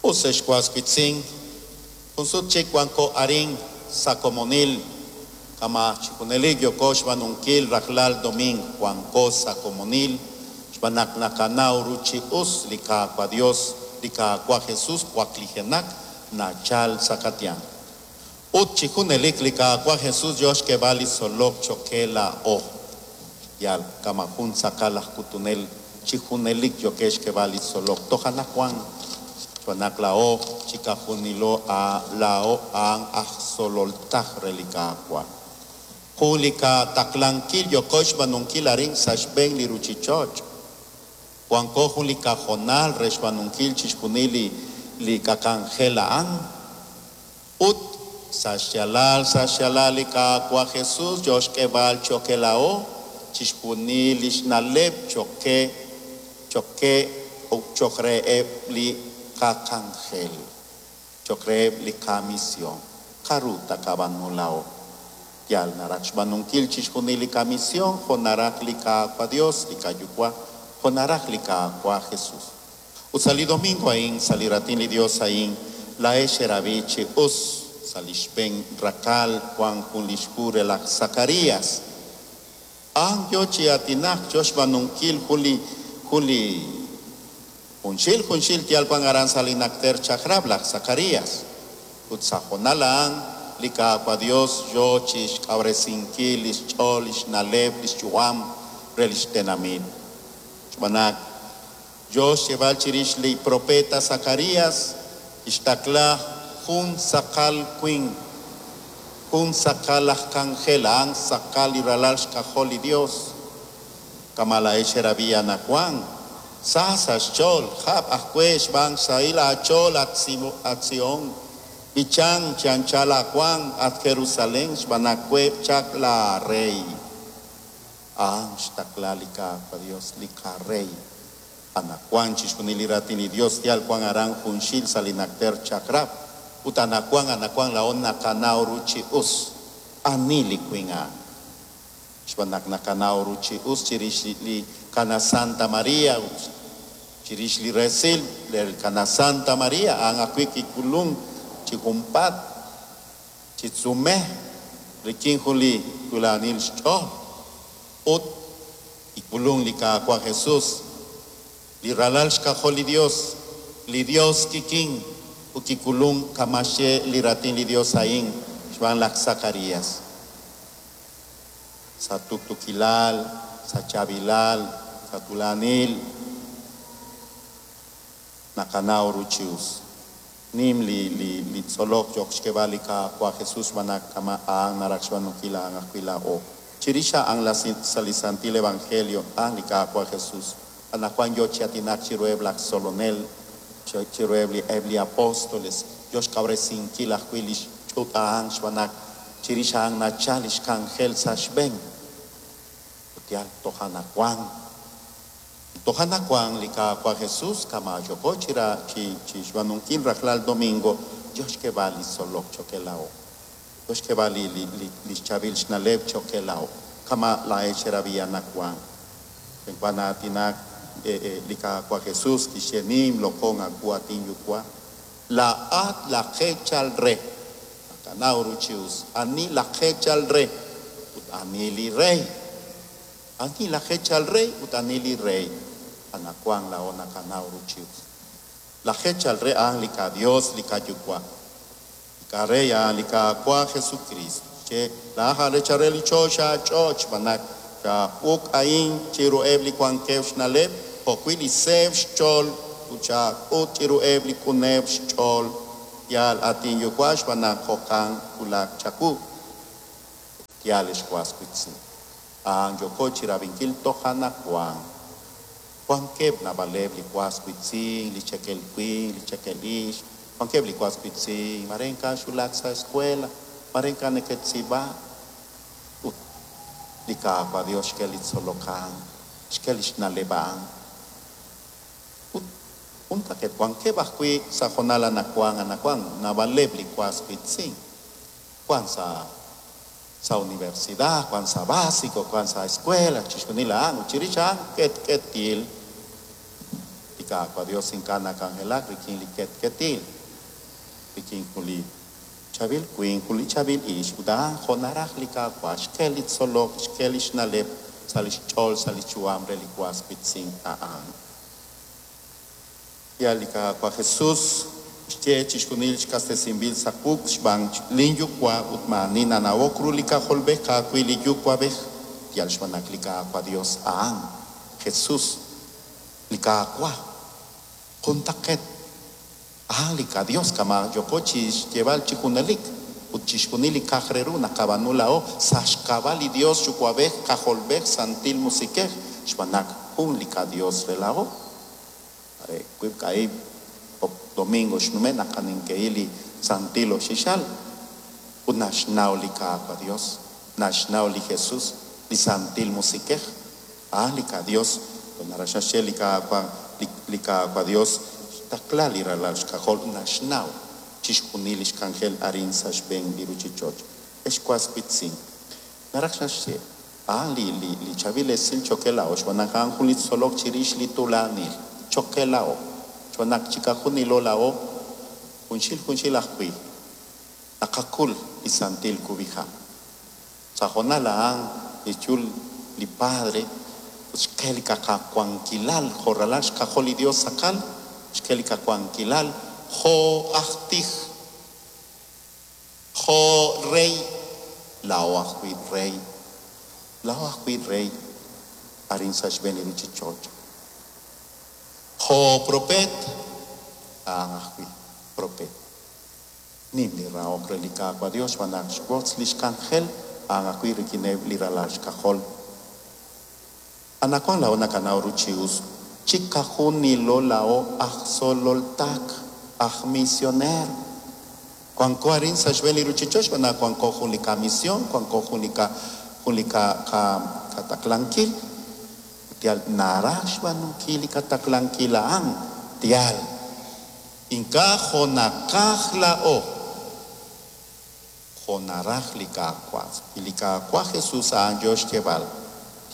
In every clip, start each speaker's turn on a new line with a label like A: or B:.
A: Us ex was wiitz'in, jun sut chik wanko arin sa' komonil, kama' chi junelik yooko xb'aanunkil rajlal domingo, wanko sa' komonil xb'aan naq naqanaw ru chi us li Qaawa' Dios, li Qaawa' Jesus waklijenaq nachal sa' qatyanq. Ut chi junelik li Qaawa' Jesus yo xk'eeb'al li tzolok cho'q qe laa'o. Yal kama' jun tz'aqal aj k'utunel chi junelik yookeb' xk'eeb'al li tzolok toj anaqwan, xb'aan naq laa'o chiqajunilo laa'o a'an aj tzolol taj re li Qaawa'. Jun li qataqlankil yooko xb'aanunkil arin sa' xb'een li ruuchich'och'. Wanko jun li qahoonal re xb'aanunkil chixjunil li li qak'anjel a'an. Ut sa' xyaalal sa' xyaalal li Qaawa' Jesus yo xk'eeb'al cho'q qe laa'o chixjunil li xna'leb' cho'q qe cho'q qe ut cho'q reheb' li qak'anjel, cho'q reheb' li qamision. K'aru taqab'aanu laa'o? Yal naraj xb'aanunkil chixjunil li qamision jo' naraj li Qaawa' Dios, li qaYuwa', jo' naraj li Qaawa' Jesus. Ut sa' li domingo a'in, sa' li Raatin li Dios a'in, laa'ex xerab'i chi us sa' li xb'een raqal wank jun li xhu re laj Zacarías. A'an yo chi aatinak, yo xb'aanunkil jun li jun li junxil junxil yal wank aran sa' li Najter Chaq'rab' laj Zacarías. Ut sa' hoonal a'an li Qaawa' Dios yo chi xk'awresinkil li xch'ool, li xna'leb', li xyu'am re li xtenamit. Xb'aan naq yo xyeeb'al chirix li propeet Zacarías, kixtaqla jun tz'aqal winq, jun tz'aqal aj k'anjel, a'an tz'aqal li ralal xk'ajol li Dios. Kama' laa'ex xerab'i anaqwan, sa sa' xch'ool, jab' ajwi' xb'aan xsahil aach'ool, at Sión, b'ichan chi anchal aawank, at Jerusalén, xb'aan naq we' chaq laaRey. A'an xtaqla li Qaawa' Dios, li qaRey. Anaqwan chixjunil li Raatin li Dios yal wank aran junxil sa' li Najter Chaq'rab', ut anaqwan anaqwan laa'o naqanaw ru chi us ani li winq a'an. Xb'aan naq naqanaw ru chi us chirix li Qana Santa Maria ut chirix li resil li Qana Santa Maria, a'an ajwi' kik'ulunk chi junpaat chi tz'umej rik'in jun li tuulanil xch'ool ut kik'ulunk li Qaawa' Jesus, li Ralal xK'ajol li Dios, li Dios kikin ut kik'ulunk kama' xye li Raatin li Dios a'in xb'aan laj Zacarías. Sa' tuqtuukilal, sa' chaab'ilal, sa' tuulanil naqanaw ru chi us. Nim li li li tzolok yook xk'eeb'al li Qaawa' Jesus xb'aan naq kama' a'an naraj xb'aanunkil a'an ajwi' laa'o. Chirix a'an la sa' li Santil Evangelio a'an li Qaawa' Jesus anaqwan yo chi aatinak chiruheb' laj tzolonel, chiruheb' li eb' li apóstoles, yo xkawresinkil ajwi' li xch'uut a'an xb'aan naq chirix a'an nachal li xk'anjel sa' xb'een. Ut yal toj anaqwan Toj anaqwan li Qaawa' Jesus kama' yooko chi ra chi chi xb'aanunkil rajlal domingo, yo xk'eeb'al li tzolok cho'q qe laa'o. Yo xk'eeb'al li li li li xchaab'il xna'leb' cho'q qe laa'o. Kama' laa'ex xerab'i anaqwan. Xb'eenwa na'aatinak li Qaawa' Jesus kixye, Nim loq'on aawu, at inYuwa'. Laa'at laj eechal re. Naqanaw ru chi us ani laj eechal re ut ani li rey. Ani laj eechal re ut ani li rey? Anaqwan laa'o naqanaw ru chi us. Laj eechal re a'an li qaDios, li qaYuwa'. Li qaRey a'an li Qaawa' Jesukriist. Che laa'aj aj eechal re li choxa ch'och' xb'aan naq xaab'uk a'in chiruheb' li wankeb' xna'leb' jo'wi' li seeb' xch'ool ut xaak'ut chiruheb' li q'uneb' xch'ool. Yaal, at inYuwa' xb'aan naq jo'kan wulak chawu. Yaal ex was wiitz'in. A'an yooko chi rab'inkil toj anaqwan. Wankeb' naab'aleb' li was wiitz'in, li cheekel winq, li cheekel ixq, wankeb' li was wiitz'in mare ink'a' xwulak sa' escuela, mare ink'a' neke'tz'iib'ak. Ut li Qaawa' Dios xk'e li tzolok a'an, xk'e li xna'leb' a'an. Ut juntaq'eet wankeb' ajwi' sa' hoonal anaqwan anaqwan naab'aleb' li was wiitz'in. Wank sa' sa' universidad, wank sa' básico, wank sa' escuela, chixjunil a'an ut chirix a'an q'etq'etil. Li Li Qaawa' Dios ink'a' nak'anjelak rik'in li ketketil, rik'in jun li chaab'il winq, jun li chaab'il ixq, ut a'an jo' naraj li Qaawa', xk'e li tzolok, xk'e li xna'leb' sa' li xch'ool, sa' li xyu'am re li was wiitz'in a'an. Yaal li Qaawa' Jesus xye chixjunil xk'astesinb'il sa' wuq' xb'aan lin Yuwa' ut maa'ani nanawok ru li K'ajolb'ej ka'ajwi' li Yuwa'b'ej, yal xb'aan naq li Qaawa' Dios a'an Jesus, li Qaawa', juntaq'eet a'an li qaDios kama' yooko chi xyeeb'al chi junelik ut chixjunil li k'a'aq re ru naqab'aanu laa'o sa' xk'ab'a' li Dios Yuwa'b'ej, K'ajolb'ej, Santil Musiq'ej, xb'aan naq jun li qaDios re laa'o. Are wiib' kaahib' domingo xnume' naqanink'ehi li Santil Oxixal ut naxnaw li Qaawa' Dios, naxnaw li Jesus, li Santil Musiq'ej, a'an li qaDios. Naraj naxye li Qaawa', li Qaawa' Dios xtaqla li ralal xk'ajol naxnaw chixjunil li xk'anjel arin sa' xb'een li ruchich'och'. Ex was wiitz'in, naraj naxye a'an li li li chaab'il esil cho'q qe laa'o, xb'aan naq a'an jun li tzolok chirix li tuulanil cho'q qe laa'o, xb'aan naq chiqajunilo laa'o junxil junxil ajwi' naqak'ul li santil kub'iha'. Sa' hoonal a'an li xyul li Padre ut xk'e li qawankilal jo' ralal xk'ajol li Dios tz'aqal, xk'e li qawankilal jo' aj tij, jo' rey, laa'o ajwi' rey, laa'o ajwi' rey arin sa' xb'een li ruchich'och'. Jo' propeet, a'an ajwi' propeet. Nim li rahok re li Qaawa' Dios xb'aan naq xwotz li xk'anjel a'an ajwi' rik'ineb' li ralal xk'ajol. Anaqwan laa'o naqanaw ru chi us chiqajunilo laa'o aj tzolol tak, aj misioneer. Wanko arin sa' xb'een li ruchich'och' xb'aan naq wanko jun li qamisión, wanko jun li qa jun li qa qa qataqlankil. Yal naraj xb'aanunkil li qataqlankil a'an, yaal. Ink'a' jo' naqaj laa'o, jo' naraj li Qaawa'. Li Qaawa' Jesus a'an yo xyeeb'al,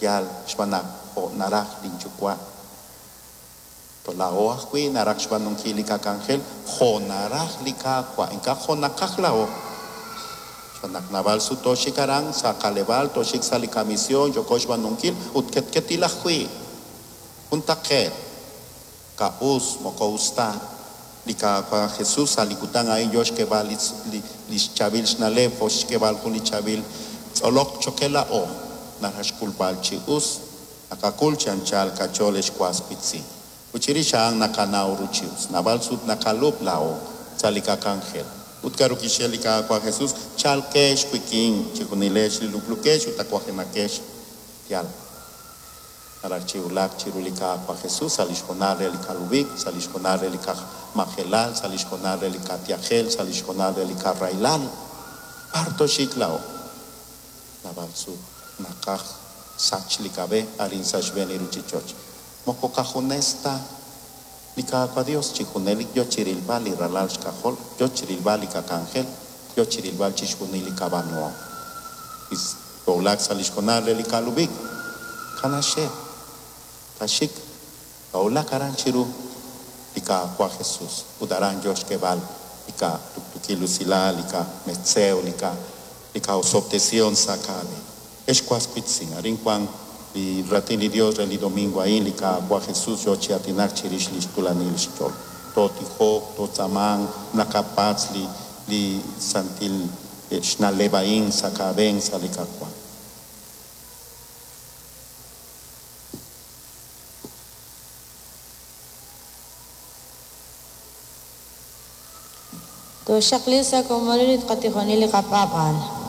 A: yaal xb'aan naq jo' naraj lin Yuwa'. Laa'o ajwi' naraj xb'aanunkil li qak'anjel jo' naraj li Qaawa', ink'a' jo' naqaj laa'o. Xb'aan naq naab'al sut tooxik aran sa' qaleb'aal, tooxik sa' li qamisión, yooko xb'aanunkil ut ketketil ajwi'. Juntaq'eet, ka'us, moko us ta. Li Qaawa' Jesus sa' li kutan a'in yo xk'eeb'al li li li xchaab'il xna'leb' jo' xk'eeb'al jun li chaab'il tzolok cho'q qe laa'o, naraj xk'ulb'al chi us, naqak'ul chi anchal qach'ool ex was wiitz'in. Ut chirix a'an naqanaw ru chi us. Naab'al sut naqalub' laa'o sa' li qak'anjel. Ut k'aru kixye li Qaawa' Jesus? Chalqex wik'in chijunilex li lub'lukex ut tawajenaqex. Yaal. Naraj chi wulak chiru li Qaawa' Jesus sa' li xhoonal re li kalub'ik, sa' li xhoonal re li qamajelal, sa' li xhoonal re li qatyajel, sa' li xhoonal re li qarahilal. B'ar tooxik laa'o? Naab'al sut naqaj sach li qab'e arin sa' xb'een li ruchich'och'. Moko qajunes ta li Qaawa' Dios chi junelik yo chi rilb'al li ralal xk'ajol, yo chi rilb'al li qak'anjel, yo chi rilb'al chixjunil li qab'aanuhom. Toowulaq sa' li xhoonal re li kalub'ik, kanaxe, kaxik, toowulaq aran chiru li Qaawa' Jesus ut aran yo xk'eeb'al li qatuktukil usilal, li qametz'ew, li qa li qa'osob'tesihom sa' qab'een. Ex was wiitz'in, arin wan li raatin li Dios re li domingo a'in, li Qaawa' Jesus yo chi aatinak chirix li xtuulanil xch'ool. Tootijok, tootz'aamanq, naqapatz' li li santil xna'leb' a'in sa' qab'een sa' li Qaawa'.
B: Toxaqli sa' komonil ut qatijonil li qapaab'aal.